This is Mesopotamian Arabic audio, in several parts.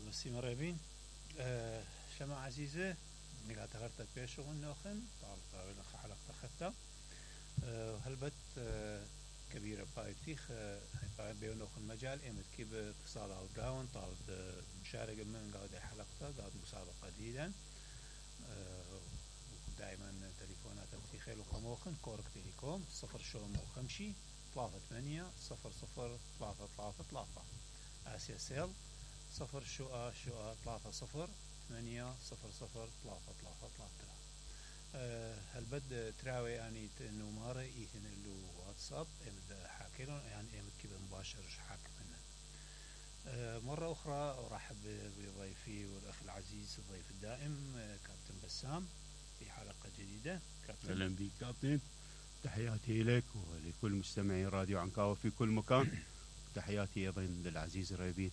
طالب السيمريبين شما عزيزة نقاط غرتك بيشغل نوخن طالب غير حلقة خطة هلبت كبيرة بايتيخ باي بيونوخن مجال امت كيب اتصال او داون طالب مشارك من قاعد حلقة قاعد مسابقة جديدة دائما تليفونات تخيل وخموخن كورك تليكوم 0 3 3 آسيا سيل 0 3 8 0 3 هالبد تراوي يعني نمارة إيهن اللي واتساب إمد حاكيلون يعني إمد كيف مباشر حاكم هنا مرة أخرى أرحب بضيفي والأخ العزيز الضيف الدائم كابتن بسام في حلقة جديدة. كابتن أهلا بك كابتن، تحياتي لك ولكل مستمعي راديو عنكاوة في كل مكان، تحياتي أيضا للعزيز ريبين.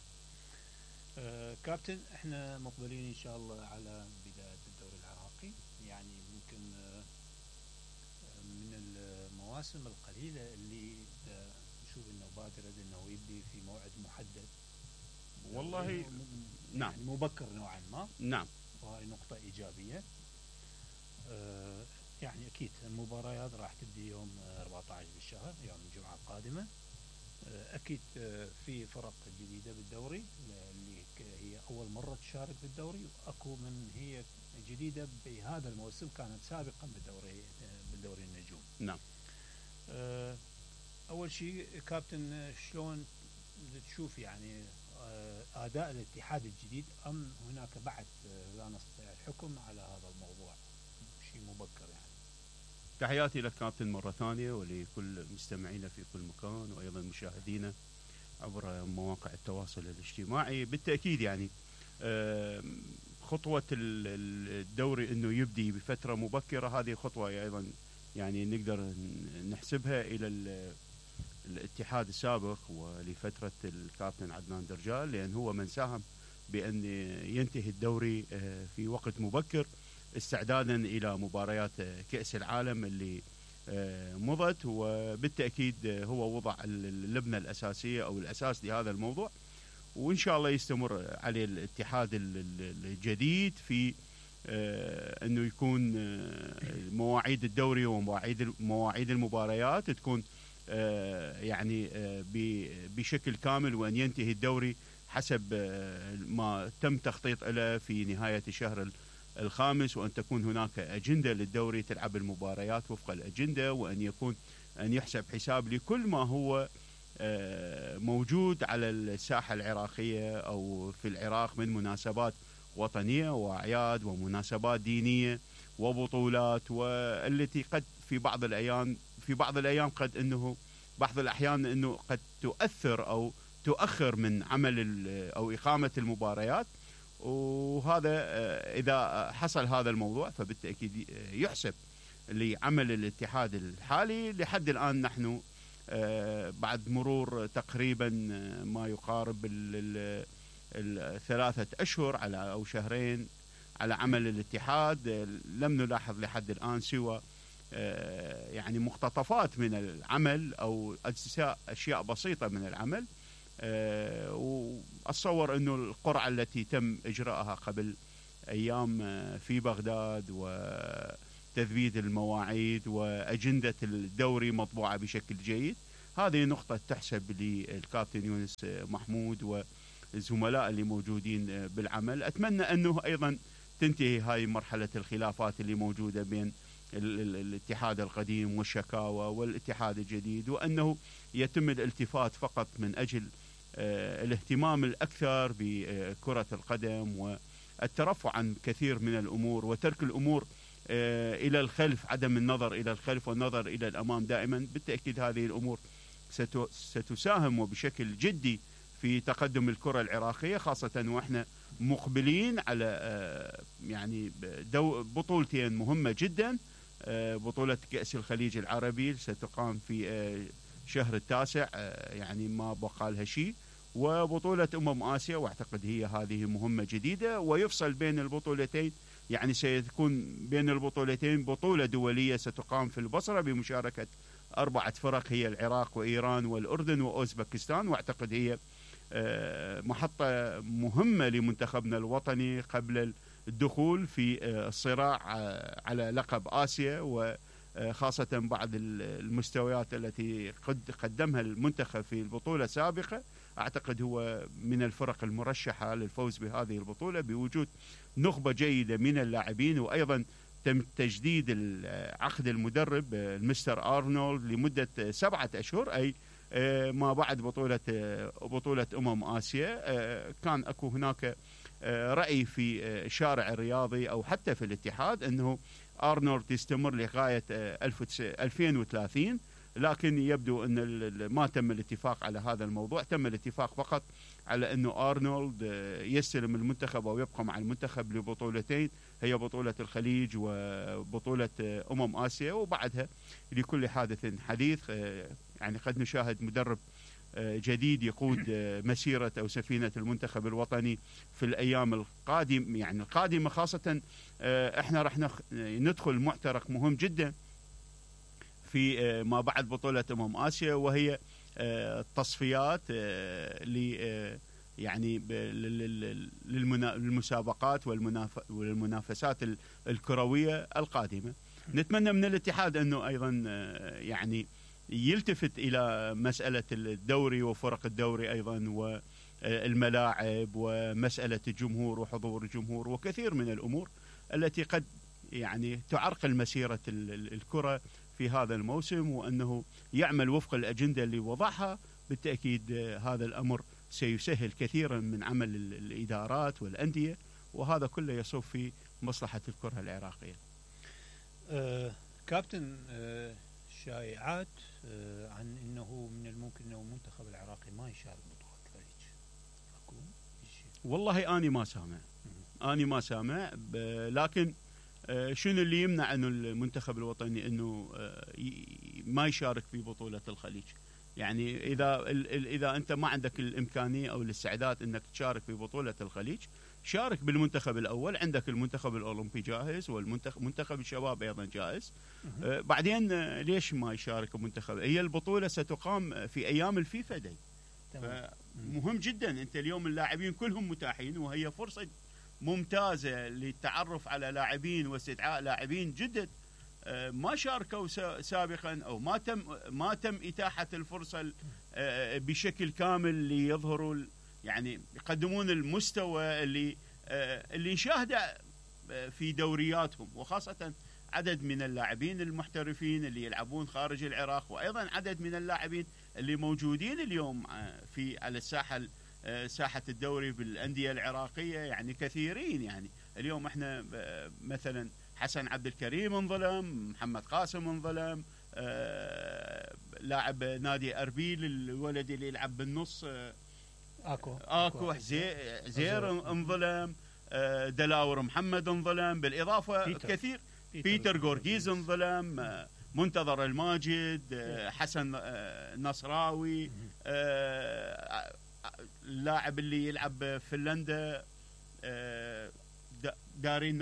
كابتن احنا مقبلين ان شاء الله على بداية الدوري العراقي، يعني ممكن من المواسم القليلة اللي نشوف انه بادرة انه يبدي في موعد محدد والله نعم يعني مبكر نوعا ما. نعم، وهي نقطة ايجابية. يعني اكيد المباريات راح تبدي يوم 14 بالشهر يوم الجمعة القادمة. اكيد في فرق جديدة بالدوري اللي هي اول مرة تشارك بالدوري، واكو من هي جديدة بهذا الموسم كانت سابقا بالدوري النجوم. نعم. اول شيء كابتن شلون تشوف يعني اداء الاتحاد الجديد، ام هناك بعد لا نستطيع الحكم على هذا الموضوع، شيء مبكر يعني. تحياتي لك كابتن مرة ثانية ولكل مستمعينا في كل مكان وأيضا مشاهدينا عبر مواقع التواصل الاجتماعي. بالتأكيد يعني خطوة الدوري أنه يبدي بفترة مبكرة هذه خطوة أيضا يعني نقدر نحسبها إلى الاتحاد السابق ولفترة الكابتن عدنان درجال، لأن هو من ساهم بأن ينتهي الدوري في وقت مبكر استعدادا إلى مباريات كأس العالم اللي مضت، وبالتأكيد هو وضع اللبنة الأساسية أو الأساس لهذا الموضوع، وإن شاء الله يستمر عليه الاتحاد الجديد في أنه يكون مواعيد الدوري ومواعيد المباريات تكون يعني بشكل كامل، وأن ينتهي الدوري حسب ما تم تخطيط له في نهاية الشهر الخامس، وأن تكون هناك أجندة للدوري تلعب المباريات وفق الأجندة، وأن يحسب حساب لكل ما هو موجود على الساحة العراقية أو في العراق من مناسبات وطنية وأعياد ومناسبات دينية وبطولات، والتي قد في بعض الأيام قد أنه بعض الأحيان أنه قد تؤثر أو تؤخر من عمل أو إقامة المباريات. وهذا إذا حصل هذا الموضوع فبالتأكيد يحسب لعمل الاتحاد الحالي. لحد الآن نحن بعد مرور تقريبا ما يقارب 3 أشهر على أو شهرين على عمل الاتحاد، لم نلاحظ لحد الآن سوى يعني مقتطفات من العمل أو أشياء بسيطة من العمل. وأتصور أنه القرعة التي تم إجراءها قبل أيام في بغداد وتثبيت المواعيد وأجندة الدوري مطبوعة بشكل جيد، هذه نقطة تحسب للكابتن يونس محمود والزملاء اللي موجودين بالعمل. أتمنى أنه أيضا تنتهي هاي مرحلة الخلافات اللي موجودة بين الاتحاد القديم والشكاوى والاتحاد الجديد، وأنه يتم الالتفات فقط من أجل الاهتمام الأكثر بكرة القدم والترفع عن كثير من الأمور وترك الأمور إلى الخلف، عدم النظر إلى الخلف والنظر إلى الأمام دائما. بالتأكيد هذه الأمور ستساهم وبشكل جدي في تقدم الكرة العراقية، خاصة وإحنا مقبلين على يعني بطولتين مهمة جدا. بطولة كأس الخليج العربي ستقام في شهر 9 يعني ما بقى لها شيء، وبطولة آسيا، واعتقد هي هذه مهمة جديدة. ويفصل بين البطولتين، يعني سيكون بين البطولتين بطولة دولية ستقام في البصرة بمشاركة 4 فرق، هي العراق وإيران والأردن وأوزبكستان، واعتقد هي محطة مهمة لمنتخبنا الوطني قبل الدخول في الصراع على لقب آسيا، وخاصة بعض المستويات التي قدمها المنتخب في البطولة السابقة. أعتقد هو من الفرق المرشحة للفوز بهذه البطولة بوجود نخبة جيدة من اللاعبين، وأيضا تم تجديد عقد المدرب المستر أرنولد لمدة 7 أشهر، أي ما بعد بطولة آسيا. كان أكو هناك رأي في الشارع الرياضي أو حتى في الاتحاد أنه أرنولد يستمر لغاية 2030، لكن يبدو أن ما تم الاتفاق على هذا الموضوع. تم الاتفاق فقط على أنه أرنولد يستلم المنتخب أو يبقى مع المنتخب لبطولتين، هي بطولة الخليج وبطولة آسيا، وبعدها لكل حادث حديث. يعني قد نشاهد مدرب جديد يقود مسيرة أو سفينة المنتخب الوطني في الأيام القادمة خاصة احنا رح ندخل معترك مهم جدا في ما بعد بطولة آسيا، وهي التصفيات يعني للمسابقات والمنافسات الكروية القادمة. نتمنى من الاتحاد أنه أيضا يعني يلتفت إلى مسألة الدوري وفرق الدوري أيضا، والملاعب ومسألة الجمهور وحضور الجمهور وكثير من الأمور التي قد يعني تعرقل مسيرة الكرة في هذا الموسم، وأنه يعمل وفق الأجندة اللي وضعها. بالتأكيد هذا الأمر سيسهل كثيرا من عمل الإدارات والأندية، وهذا كله يصب في مصلحة الكرة العراقية. كابتن، شائعات عن أنه من الممكن أنه المنتخب العراقي ما يشارك بطولة الخليج، أكو شيء؟ والله أنا ما سامع لكن شنو اللي يمنع أنه المنتخب الوطني أنه ما يشارك في بطولة الخليج؟ يعني إذا أنت ما عندك الإمكانية أو الاستعداد أنك تشارك في بطولة الخليج، شارك بالمنتخب الأول. عندك المنتخب الأولمبي جاهز، والمنتخب الشباب أيضا جاهز. بعدين ليش ما يشارك المنتخب؟ هي البطولة ستقام في أيام الفيفا داي، مهم جدا. أنت اليوم اللاعبين كلهم متاحين، وهي فرصة ممتازة للتعرف على لاعبين واستدعاء لاعبين جدد ما شاركوا سابقا، أو ما تم إتاحة الفرصة بشكل كامل ليظهروا، يعني يقدمون المستوى اللي نشاهده في دورياتهم، وخاصة عدد من اللاعبين المحترفين اللي يلعبون خارج العراق، وأيضا عدد من اللاعبين اللي موجودين اليوم على ساحة الدوري بالأندية العراقية، يعني كثيرين. يعني اليوم احنا مثلا حسن عبد الكريم انظلم، محمد قاسم انظلم، لاعب نادي أربيل الولد اللي يلعب بالنص اكو زير انظلم، دلاور محمد انظلم، بالإضافة كثير بيتر غورغيز انظلم، منتظر الماجد، حسن نصراوي، اللاعب اللي يلعب بفنلندا دارين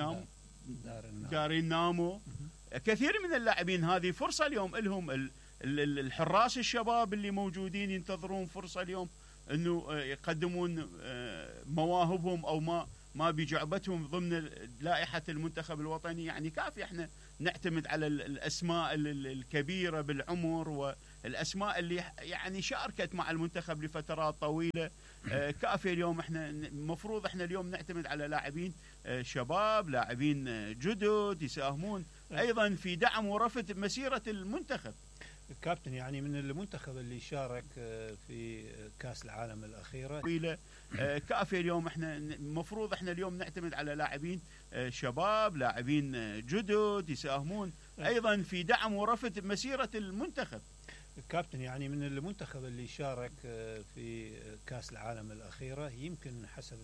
نامو. كثير من اللاعبين هذه فرصة اليوم لهم. الحراس الشباب اللي موجودين ينتظرون فرصة اليوم انه يقدمون مواهبهم او ما بجعبتهم ضمن لائحة المنتخب الوطني. يعني كافي احنا نعتمد على الاسماء الكبيرة بالعمر والاسماء اللي يعني شاركت مع المنتخب لفترات طويلة. كافي اليوم احنا المفروض احنا اليوم نعتمد على لاعبين شباب، لاعبين جدد يساهمون ايضا في دعم ورفع مسيرة المنتخب. كابتن، يعني من المنتخب اللي شارك في كأس العالم الأخيرة كافي اليوم احنا المفروض احنا اليوم نعتمد على لاعبين شباب، لاعبين جدد يساهمون ايضا في دعم ورفع مسيرة المنتخب. كابتن، يعني من المنتخب اللي شارك في كأس العالم الأخيرة، يمكن حسب